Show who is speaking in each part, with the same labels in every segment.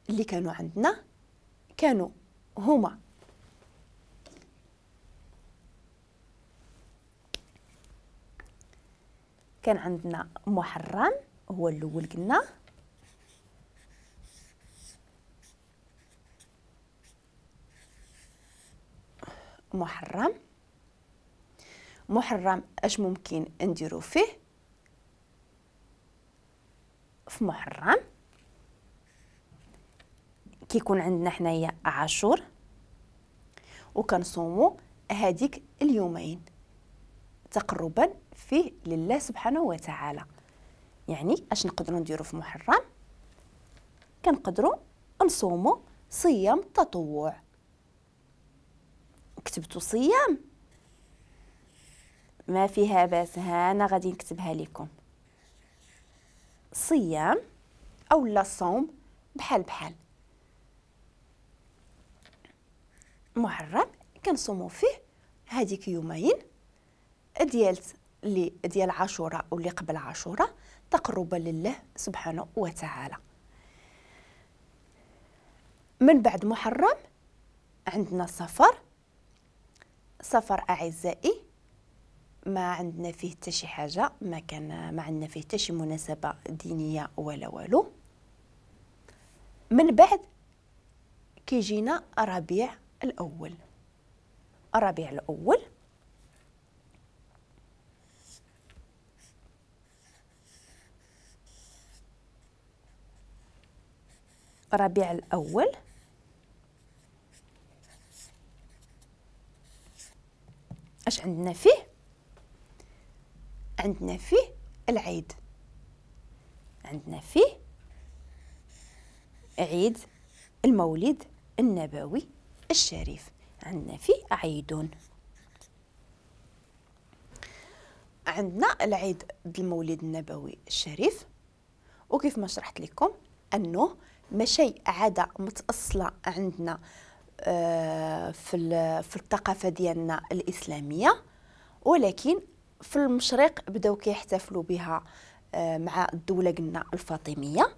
Speaker 1: اللي كانوا عندنا كانوا هما كان عندنا محرم هو الاول قلنا، محرم. محرم اش ممكن نديرو فيه؟ في محرم كيكون عندنا حنايا عاشور وكنصومو هذيك اليومين تقربا فيه لله سبحانه وتعالى. يعني اش نقدروا نديرو في محرم؟ كنقدروا نصومو صيام تطوع. كتبتو صيام ما فيها باس، ها انا غادي نكتبها لكم، صيام او لا صوم بحال بحال. محرم كنصومو فيه هذيك يومين ديال اللي ديال عاشوراء واللي قبل عاشوراء تقربا لله سبحانه وتعالى. من بعد محرم عندنا صفر. صفر اعزائي ما عندنا فيه حتى شي حاجة، ما عندنا فيه حتى شي مناسبة دينية ولا والو. من بعد كيجينا ربيع الاول. الربيع الاول ربيع الاول اش عندنا فيه؟ عندنا فيه العيد، عندنا فيه عيد المولد النبوي الشريف، عندنا فيه عيدون. عندنا العيد المولد النبوي الشريف، وكيف ما شرحت لكم انه ماشي عادة متاصله عندنا في الثقافة ديالنا الاسلامية، ولكن في المشرق بداو كيحتفلوا بها مع الدولة قلنا الفاطمية،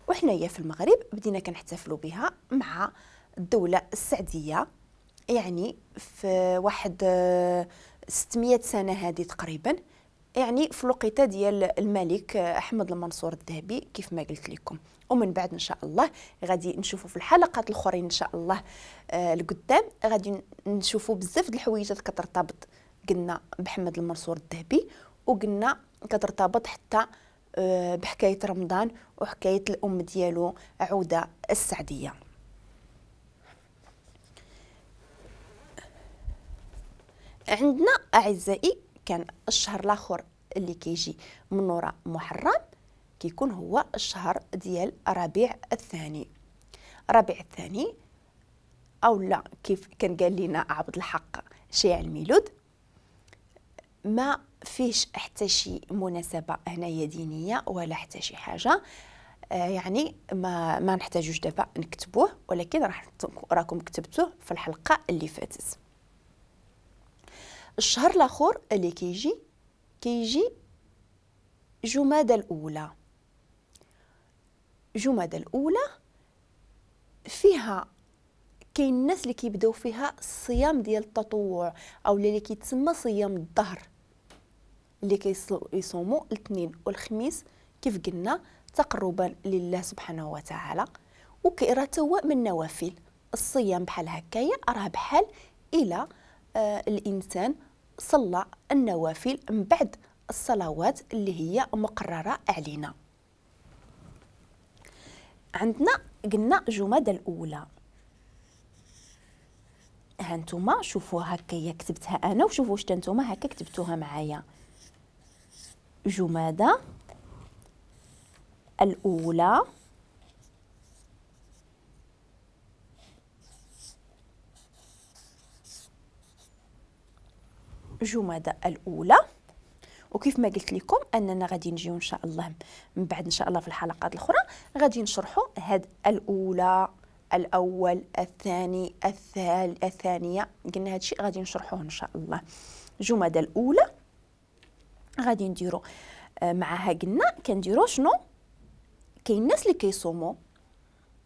Speaker 1: وحنايا في المغرب بدينا كنحتفلوا بها مع الدولة السعديه، يعني في واحد 600 سنة هذه تقريبا، يعني في الوقيته ديال الملك احمد المنصور الذهبي كيف ما قلت لكم. ومن بعد ان شاء الله غادي نشوفوا في الحلقات الاخرين ان شاء الله القدام غادي نشوفوا بزاف د الحويجات كترتبط قلنا بحمد المنصور الذهبي، وقلنا كترتبط حتى بحكاية رمضان وحكاية الام ديالو عوده السعديه. عندنا اعزائي كان الشهر الاخر اللي كيجي من وراء محرم كيكون هو الشهر ديال ربيع الثاني. ربيع الثاني او لا كيف كان قال لنا عبد الحق شيع الميلود ما فيش حتى شي مناسبة هنايا دينية ولا حتى شي حاجة، يعني ما نحتاجوش دابا نكتبوه، ولكن راكم كتبتوه في الحلقة اللي فاتت. الشهر الاخر اللي كيجي جمادى الاولى. جمادى الاولى فيها كاين الناس اللي كيبداو فيها الصيام ديال التطوع او اللي كيتسمى صيام الظهر، اللي كيصوموا الاثنين والخميس كيف قلنا تقربا لله سبحانه وتعالى، وكيراه تا هو من نوافل الصيام بحال هكايا، راه بحال الى الانسان صلى النوافل من بعد الصلوات اللي هي مقررة علينا. عندنا قلنا جمادى الاولى، ها نتوما شوفوا هكايا كتبتها انا، وشوفوا واش نتوما هكا كتبتوها معايا. جمادى الاولى جمادى الاولى، وكيف ما قلت لكم اننا غادي نجيو ان شاء الله من بعد ان شاء الله في الحلقات الاخرى غادي نشرحوا هاد الاولى، الاول، الثاني، الثانية، قلنا هادشي غادي نشرحوه ان شاء الله. جمادى الاولى غادي نديرو معاها قلنا كنديرو شنو؟ كاين الناس اللي كيصوموا